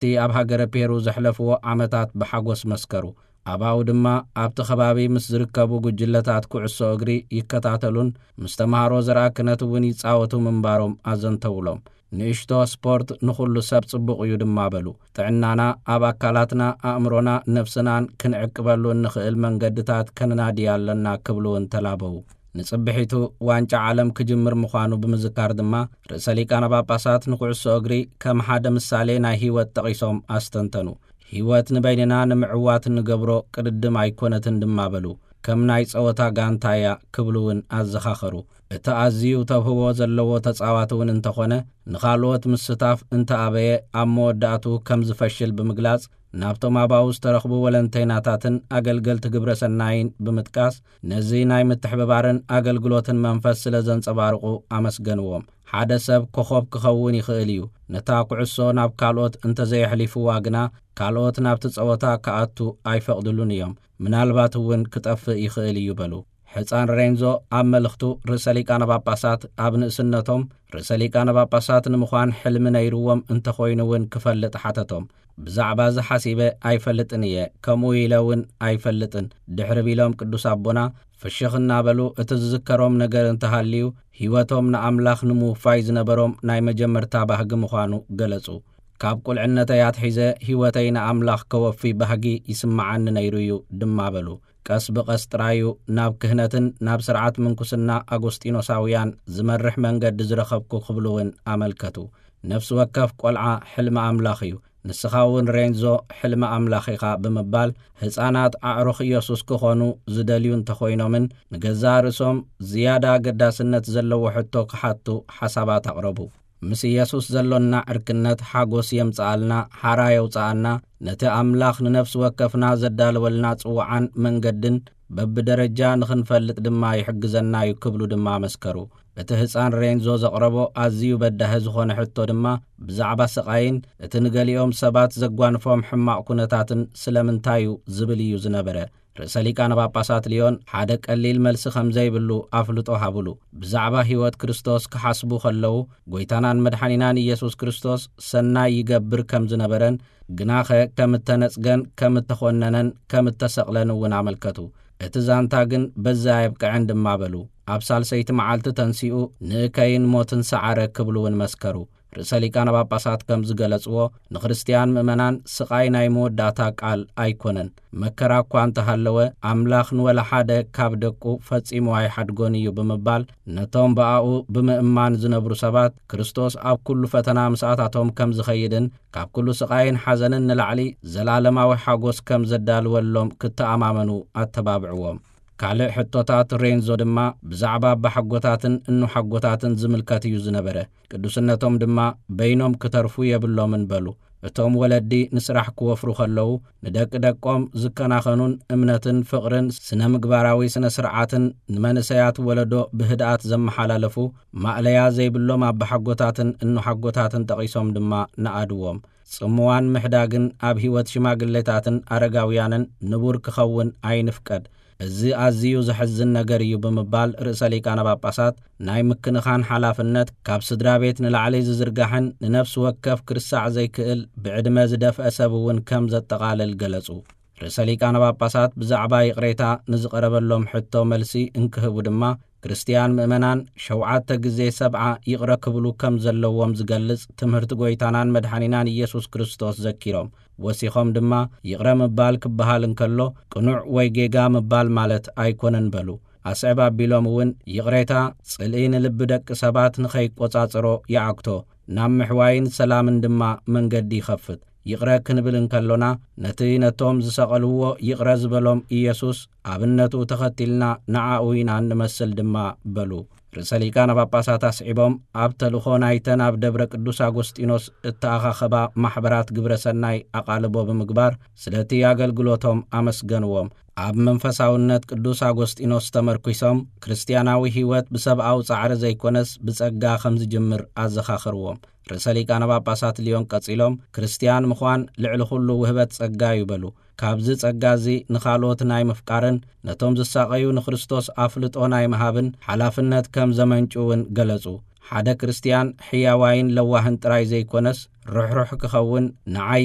እቲ ኣብ ሃገረ ፔሩ ዘሕለፍዎ ዓመታት ብሓጎስ መስከሩ። ኣባኡ ድማ ኣብቲ ከባቢ ምስ ዝርከቡ ጉጅለታት ኩዕሶ እግሪ ይከታተሉን ምስ ተምሃሮ ዘርኣ ክህነት እውን ይጻወቱ ምንባሮም ኣዘንተውሎም። ንእሽቶ ስፖርት ንኹሉ ሰብ ጽቡቕ እዩ ድማ በሉ። ጥዕናና ኣብ ኣካላትና፣ ኣእምሮና፣ ነፍስናን ክንዕቅበሉ እንኽእል መንገድታት ከነናዲ ኣለና ክብሉ እውን ተላበዉ። ንጽብሒቱ ዋንጫ ዓለም ክጅምር ምዃኑ ብምዝካር ድማ ርእሰ ሊቃነ ጳጳሳት ንኩዕሶ እግሪ ከም ሓደ ምሳሌ ናይ ህይወት ጠቒሶም ኣስተንተኑ። ህይወት ንበይንና ንምዕዋት እንገብሮ ቅድድም ኣይኮነትን ድማ በሉ። ከም ናይ ጸወታ ጋንታ እያ ክብሉ እውን ኣዘኻኸሩ። እቲ ኣዝዩ ተብህዎ ዘለዎ ተጻዋቲ እውን እንተኾነ ንኻልኦት ምስታፍ እንተኣበየ ኣብ መወዳእቱ ከም ዝፈሽል ብምግላጽ ናብቶም ኣባኡ ዝተረኽቡ ወለንተይናታትን ኣገልገልቲ ግብረ ሰናይን ብምጥቃስ ነዚ ናይ ምትሕብባርን ኣገልግሎትን መንፈስ ስለ ዘንጸባርቑ ኣመስገንዎም። ሓደ ሰብ ኮኾብ ክኸውን ይኽእል እዩ። ነታ ኩዕሶ ናብ ካልኦት እንተዘየሕሊፍዋ ግና ካልኦት ናብቲ ጸወታ ክኣቱ ኣይፈቕድሉን እዮም። ምናልባት እውን ክጠፍእ ይኽእል እዩ በሉ። ሕፃን ሬንዞ ኣብ መልእኽቱ ርእሰ ሊቃነ ጳጳሳት ኣብ ንእስነቶም ርእሰ ሊቃነ ጳጳሳት ንምዃን ሕልሚ ነይርዎም እንተኾይኑ እውን ክፈልጥ ሓተቶም። ብዛዕባ እዚ ሓሲበ ኣይፈልጥን እየ፣ ከምኡ ኢለ እውን ኣይፈልጥን ድሕሪ ቢሎም ቅዱስ ኣቦና ፍሽኽ እናበሉ እቲ ዝዝከሮም ነገር እንተሃልዩ ህይወቶም ንኣምላኽ ንምውፋይ ዝነበሮም ናይ መጀመርታ ባህጊ ምዃኑ ገለጹ። ካብ ቁልዕነተይ ኣትሒዘ ህይወተይ ንኣምላኽ ከወፊ ባህጊ ይስምዓኒ ነይሩ እዩ ድማ በሉ። ቀስ ብቐስ ጥራዩ ናብ ክህነትን ናብ ስርዓት ምንኩስና ኣጎስጢኖሳውያን ዝመርሕ መንገዲ ዝረኸብኩ ክብሉ እውን ኣመልከቱ። ነፍሲ ወከፍ ቆልዓ ሕልሚ ኣምላኽ እዩ። ንስኻ እውን ሬንዞ ሕልሚ ኣምላኽ ኢኻ ብምባል ህፃናት ኣዕሩኽ ኢየሱስ ክኾኑ ዝደልዩ እንተኾይኖምን ንገዛእ ርእሶም ዝያዳ ኣገዳስነት ዘለዎ ሕቶ ክሓቱ ሓሳባት ኣቕረቡ። ምስ ኢየሱስ ዘሎና ዕርክነት ሓጎስ የምጽኣልና፣ ሓራ የውጽኣና፣ ነቲ ኣምላኽ ንነፍሲ ወከፍና ዘዳለወልና ጽውዓን መንገድን በብደረጃ ንኽንፈልጥ ድማ ይሕግዘና እዩ ክብሉ ድማ መስከሩ። እቲ ህፃን ሬንዞ ዘቕረቦ ኣዝዩ በዳሂ ዝኾነ ሕቶ ድማ ብዛዕባ ስቓይን እቲ ንገሊኦም ሰባት ዘጓንፎም ሕማቕ ኩነታትን ስለምንታይ እዩ ዝብል እዩ ዝነበረ። ርእሰ ሊቃነ ጳጳሳት ሊዮን ሓደ ቀሊል መልሲ ከም ዘይብሉ ኣፍልጦ ሃብሉ። ብዛዕባ ህይወት ክርስቶስ ክሓስቡ ከለዉ ጎይታናን መድሓኒናን ኢየሱስ ክርስቶስ ሰናይ ይገብር ከም ዝነበረን ግናኸ ከም እተነጽገን ከም እተኾነነን ከም እተሰቕለን እውን ኣመልከቱ። እቲ ዛንታ ግን በዚ ኣየብቅዐን ድማ በሉ። ኣብ ሳልሰይቲ መዓልቲ ተንሲኡ ንእከይን ሞትን ሰዓረ ክብሉ እውን መስከሩ። ርእሰ ሊቃነ ጳጳሳት ከም ዝገለጽዎ ንክርስትያን ምእመናን ስቓይ ናይ መወዳእታ ቃል ኣይኮነን። መከራ እኳ እንተሃለወ ኣምላኽ ንወላ ሓደ ካብ ደቁ ፈጺሙ ኣይሓድጎን እዩ ብምባል ነቶም ብኣኡ ብምእማን ዝነብሩ ሰባት ክርስቶስ ኣብ ኩሉ ፈተና ምስኣታቶም ከም ዝኸይድን ካብ ኩሉ ስቓይን ሓዘንን ንላዕሊ ዘላለማዊ ሓጎስ ከም ዘዳልወሎም ክተኣማመኑ ኣተባብዕዎም። ካልእ ሕቶታት ሬንዞ ድማ ብዛዕባ ኣባሓጎታትን እኖሓጎታትን ዝምልከት እዩ ዝነበረ። ቅዱስነቶም ድማ በይኖም ክተርፉ የብሎምን በሉ። እቶም ወለዲ ንስራሕ ክወፍሩ ከለዉ ንደቂ ደቆም ዝከናኸኑን እምነትን ፍቕርን ስነ ምግባራዊ ስነ ስርዓትን ንመንእሰያት ወለዶ ብህድኣት ዘመሓላለፉ ማእለያ ዘይብሎም ኣባሓጎታትን እኖሓጎታትን ጠቒሶም ድማ ነኣድዎም። ጽምዋን ምሕዳግን ኣብ ህይወት ሽማግሌታትን ኣረጋውያንን ንቡር ክኸውን ኣይንፍቀድ። እዚ ኣዝዩ ዘሕዝን ነገር እዩ ብምባል ርእሰ ሊቃነ ጳጳሳት ናይ ምክንኻን ሓላፍነት ካብ ስድራ ቤት ንላዕሊ ዝዝርጋሕን ንነፍሲ ወከፍ ክርሳዕ ዘይክእል ብዕድመ ዝደፍአ ሰብ እውን ከም ዘጠቓልል ገለጹ። ርእሰ ሊቃነ ጳጳሳት ብዛዕባ ይቕሬታ ንዝቐረበሎም ሕቶ መልሲ እንክህቡ ድማ ክርስትያን ምእመናን ሸውዓተ ግዜ ሰብዓ ይቕረ ክብሉ ከም ዘለዎም ዝገልጽ ትምህርቲ ጎይታናን መድሓኒናን ኢየሱስ ክርስቶስ ዘኪሮም ወሲኾም ድማ ይቕረ ምባል ክበሃል እንከሎ ቅኑዕ ወይ ጌጋ ምባል ማለት ኣይኮነን በሉ። ኣስዕብ ኣቢሎም እውን ይቕሬታ ጽልኢ ንልቢ ደቂ ሰባት ንኸይቆጻጸሮ ይዓግቶ፣ ናብ ምሕዋይን ሰላምን ድማ መንገዲ ይኸፍት። ይቕረ ክንብል እንከሎና ነቲ ነቶም ዝሰቐልዎ ይቕረ ዝበሎም ኢየሱስ ኣብነቱ ተኸቲልና ንዓኡ ኢና እንመስል ድማ በሉ። ርእሰ ሊቃነ ጳጳሳት ኣስዒቦም ኣብ ተልእኾ ናይተን ኣብ ደብረ ቅዱስ ኣጎስጢኖስ እተኣኻኸባ ማሕበራት ግብረ ሰናይ ኣቓልቦ ብምግባር ስለቲ ኣገልግሎቶም ኣመስገንዎም። ኣብ መንፈሳውነት ቅዱስ ኣጎስጢኖስ ተመርኲሶም ክርስትያናዊ ህይወት ብሰብኣዊ ጻዕሪ ዘይኮነስ ብጸጋ ከም ዝጅምር ኣዘኻኽርዎም። ርእሰ ሊቃነ ጳጳሳት ሊዮን ቀጺሎም ክርስትያን ምዃን ልዕሊ ኩሉ ውህበት ጸጋ እዩ በሉ። ካብዚ ጸጋ እዚ ንኻልኦት ናይ ምፍቃርን ነቶም ዝሳቐዩ ንክርስቶስ ኣፍልጦ ናይ ምሃብን ሓላፍነት ከም ዘመንጩ እውን ገለጹ። ሓደ ክርስትያን ሕያዋይን ለዋህን ጥራይ ዘይኮነስ ርሕሩሕ ክኸውን ንዓይ